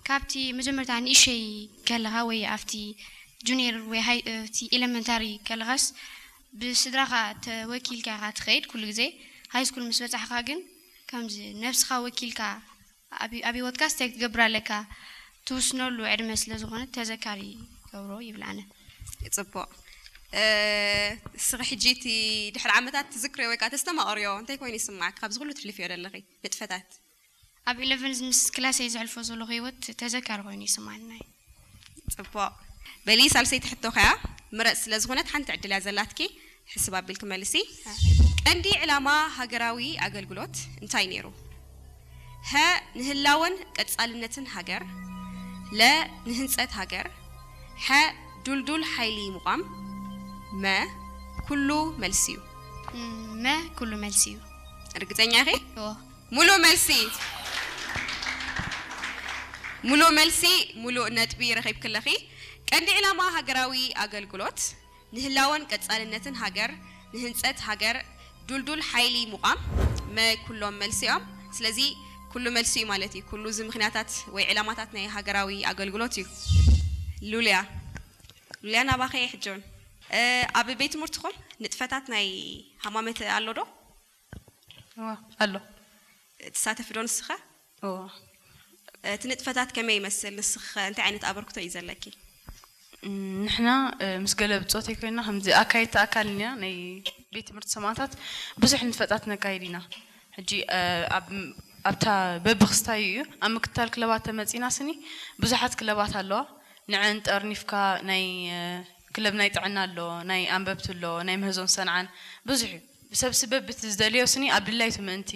ካብቲ መጀመርታ ንእሸይ ከለኻ ወይ ኣብቲ ጁኒየር ወይ ሃይ እቲ ኤለመንታሪ ከለኻስ ብስድራኻ ተወኪልካ ኢኻ ትኸይድ ኩሉ ግዜ። ሃይ ስኩል ምስ በጻሕኻ ግን ከምዚ ነብስኻ ወኪልካ ኣብ ኣብ ህይወትካስ እንታይ ክትገብር ኣለካ ትውስነሉ ዕድመ ስለ ዝኾነ ተዘካሪ ገብሮ ይብል ኣነ። ጽቡቕ። እስኺ ሕጂ እቲ ድሕሪ ዓመታት ትዝክርዮ ወይ ከዓ ተስተማቕርዮ እንታይ ኮይኑ ይስማዕኪ? ካብዚ ኩሉ ትሕልፍዮ ዘለኺ ንጥፈታት። ኣብ ኢለቨን ምስ ክላሰይ ዘሕልፎ ዘለኹ ህይወት ተዘካሪ ኮይኑ ይስማዕኒ። ጽቡቕ። በሊ ሳልሰይቲ ሕቶ ከያ ምረጽ ስለ ዝኾነት ሓንቲ ዕድል እያ ዘላትኪ። ሕስብ ኣቢልኪ መልሲ። ቀንዲ ዕላማ ሃገራዊ ኣገልግሎት እንታይ ነይሩ? ሀ ንህላወን ቀጻልነትን ሃገር፣ ለ ንህንጸት ሃገር፣ ሐ ዱልዱል ሓይሊ ምቋም፣ መ ኩሉ መልሲ እዩ። መ ኩሉ መልሲ እዩ። ርግጸኛ ኢኺ? እዎ። ሙሉእ መልሲ። ሙሉእ መልሲ፣ ሙሉእ ነጥቢ ረኺብኪ ኣለኺ። ቀንዲ ዕላማ ሃገራዊ ኣገልግሎት ንህላወን ቀጻልነትን ሃገር፣ ንህንጸት ሃገር፣ ዱልዱል ሓይሊ ምቋም፣ መ ኩሎም መልሲ እዮም። ስለዚ ኩሉ መልሲ እዩ ማለት እዩ። ኩሉ እዚ ምኽንያታት ወይ ዕላማታት ናይ ሃገራዊ ኣገልግሎት እዩ። ሉልያ፣ ሉልያ ናባኸ ሕጆን ኣብ ቤት ትምህርትኹም ንጥፈታት ናይ ሃማመተ ኣሎ ዶ? እዋ ኣሎ። ትሳተፊ ዶ ንስኸ? እዋ። እቲ ንጥፈታት ከመይ ይመስል? ንስኸ እንታይ ዓይነት ኣበርክቶ እዩ ዘለኪ? እም፣ ንሕና እ፣ ምስ ገለ ብጾተይ ኮይና ከምዚ ኣካየድቲ ኣካል ኢና ናይ ቤት ትምህርቲ ሰማእታት ብዙሕ ንጥፈታት ነካይድ ኢና። ሕጂ እ፣ ኣብ ኣብታ በብክስታዩ እዩ ኣብ ምክትታል ክለባት ተመጺና ስኒ ብዙሓት ክለባት ኣለዋ። ንዐን ጠርኒፍካ ናይ እ፣ ክለብ ናይ ጥዕና ኣሎ፣ ናይ ኣንበብቲ ኣሎ፣ ናይ ምህዞን ሰንዓን ብዙሕ እዩ። ሰብሲ በብቲ ዝደልዮ ስኒ ኣብ ድላይቱ ምእንቲ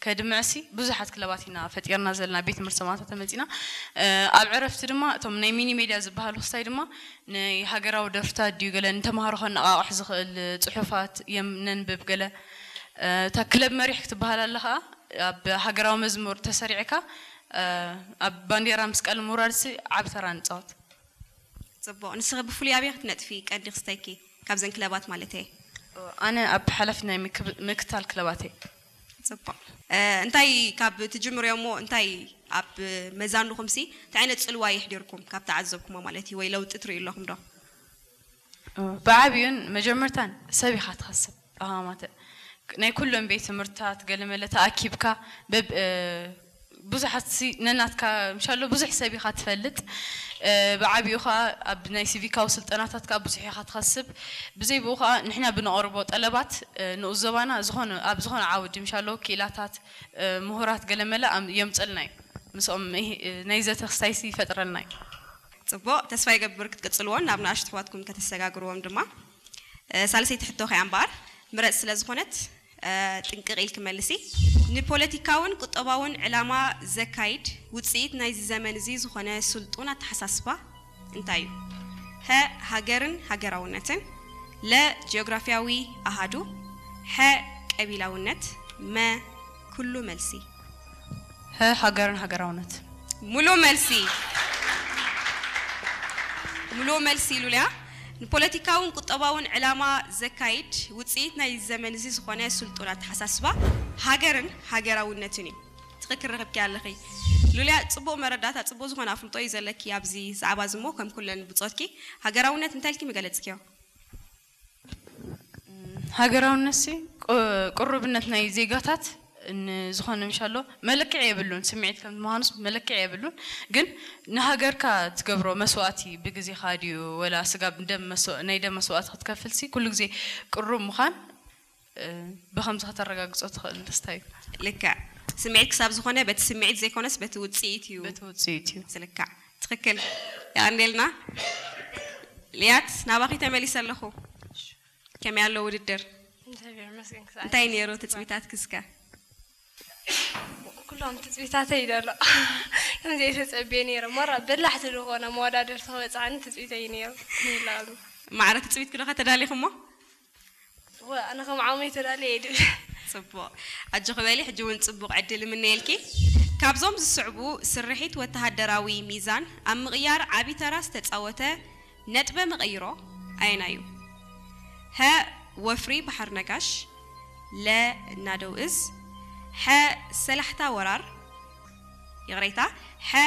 ከድምዕሲ ብዙሓት ክለባት ኢና ፈጢርና ዘለና ቤት ትምህርቲ ሰማእታት ተመጺና። እ፣ ኣብ ዕረፍቲ ድማ እቶም ናይ ሚኒ ሜድያ ዝበሃሉ ክስታይ ድማ ናይ ሃገራዊ ደርፍታት ድዩ ገለ ንተምሃሮ ከነቓቕሕ ዝኽእል ጽሑፋት የም ነንብብ ገለ እ፣ እታ ክለብ መሪሕ ክትበሃል ኣለ ኸኣ ኣብ ሃገራዊ መዝሙር ተሰሪዕካ እ፣ ኣብ ባንዴራ ምስ ቀለም ምውራድሲ ዓቢ ተራ ንጻወት። ጽቡቕ። ንስኺ ብፍሉይ ኣበይ ክትነጥፊ ቀንዲ ክስተይኪ? ካብዘን ክለባት ማለት እየ። ኣነ ኣብ ሓላፊ ናይ ምክብ- ምክታል ክለባት እየ። ጽቡቕ። እ፣ እንታይ ካብ ትጅምርዮ እሞ እንታይ ኣብ መዛንኹምሲ እንታይ ዓይነት ጽልዋ የሕዲርኩም ካብ ተዓዘብኩሞ ማለት እዩ ወይ ለውጢ ትርእዩ ኣለኹም ዶ? ብዓብዩን መጀመርታን ሰብ ኢኻ ትኸስብ። ኣሃማተ ናይ ኩሎም ቤት ትምህርትታት ገለመለ ተኣኪብካ በብ እ፣ ብዙሓት ሲ- ነናትካ ምሻሎ ብዙሕ ሰብ ኢኻ ትፈልጥ። እ፣ ብዓብዩ ኸዓ ኣብ ናይ ሲቪካዊ ስልጠናታት ከዓ ብዙሕ ኢኻ ትኸስብ። ብዘይ ብኡ ከዓ ንሕና ብነቕርቦ ጠለባት እ፣ ንኡስ ዞባና ዝኾነ ኣብ ዝኾነ ዓውዲ ምሻሎ ክኢላታት እ፣ ምሁራት ገለመለ ኣም- የምፀልና እዩ። ምስኦም ይህ- እ፣ ናይ ዘተ ክስታይሲ ይፈጥረልና እዩ። ጽቡቕ፣ ተስፋ ይገብር ክትቅጽልዎን ናብ ንኣሽቱ ኣሕዋትኩም ከተሰጋግርዎም ድማ። እ፣ ሳልሰይቲ ሕቶ ከያ እምበኣር ምረጽ ስለ ዝኾነት እ፣ ጥንቅቕ ኢልኪ መልሲ። ንፖለቲካውን ቁጠባውን ዕላማ ዘካይድ ውጽኢት ናይዚ ዘመን እዚ ዝኾነ ስልጡን ኣተሓሳስባ እንታይ እዩ? ሀ ሃገርን ሃገራውነትን፣ ለ ጂኦግራፊያዊ ኣሃዱ፣ ሐ ቀቢላውነት፣ መ ኩሉ መልሲ። ሀ ሃገርን ሃገራውነት። ሙሉ መልሲ። ሙሉ መልሲ ሉልያ። ንፖለቲካውን ቁጠባውን ዕላማ ዘካይድ ውፅኢት ናይ ዘመን እዚ ዝኾነ ስልጡን ኣተሓሳስባ ሃገርን ሃገራውነትን እዩ። ትኽክል ረኺብኪ ኣለኺ ሉልያ። ፅቡቕ መረዳእታ፣ ፅቡቕ ዝኾነ ኣፍልጦ እዩ ዘለኪ ኣብዚ ዛዕባ እዚ እሞ ከም ኩለን ብፆትኪ ሃገራውነት እንታይ ኢልኪ ምገለፅክዮ? ሃገራውነትሲ ቁ- ቅሩብነት ናይ ዜጋታት ን- ዝኾነ ምሻሎ መለክዒ የብሉን። ስምዒት ከም ምዃኑስ መለክዒ የብሉን። ግን ንሃገርካ ትገብሮ መስዋእቲ ብግዜኻ ድዩ ወላ ስጋብ ደም መስዋ- ናይ ደም መስዋእቲ ክትከፍልሲ ኩሉ ግዜ ቅሩብ ምዃን እ፣ ብኸምዚ ከተረጋግጾ ትኽእል ደስታ እዩ። ልክዕ። ስምዒት ክሳብ ዝኾነ በቲ ስምዒት ዘይኮነስ በቲ ውፅኢት እዩ በቲ ውፅኢት እዩ። ዝልካዕ። ትኽክል። የቐንየልና። ልያት ናባኺ ተመሊሰ ኣለኹ። ከመይ ኣሎ ውድድር? እግዚኣብሔር ይመስገን። ክሳዕ እንታይ ነይሩ ትፅቢታት ክስከ? ኩሎም ትፅቢታተይ ይደሎ። ከምዚ የተፀብየ ነይረ። ሞራ በላሕቲ ዝኾነ መወዳደርቲ ክበፅሓኒ ትፅቢተይ ነይሩ። ይላሉ። ማዕረ ትፅቢት ክዶ ከተዳሊኹሞ? ወ ኣነ ከም ዓመይ ተዳልየ ይድል። ፅቡቕ። ኣጆኺ በሊ፣ ሕጂ እውን ፅቡቕ ዕድል እምነየልኪ። ካብዞም ዝስዕቡ ስርሒት ወተሃደራዊ ሚዛን ኣብ ምቕያር ዓቢ ተራ ዝተፃወተ ነጥበ መቐይሮ ኣየናይ እዩ? ሀ ወፍሪ ባሕር ነጋሽ፣ ለ ናደው እዝ፣ ሐ ሰላሕታ ወራር፣ ይቕሬታ፣ ሐ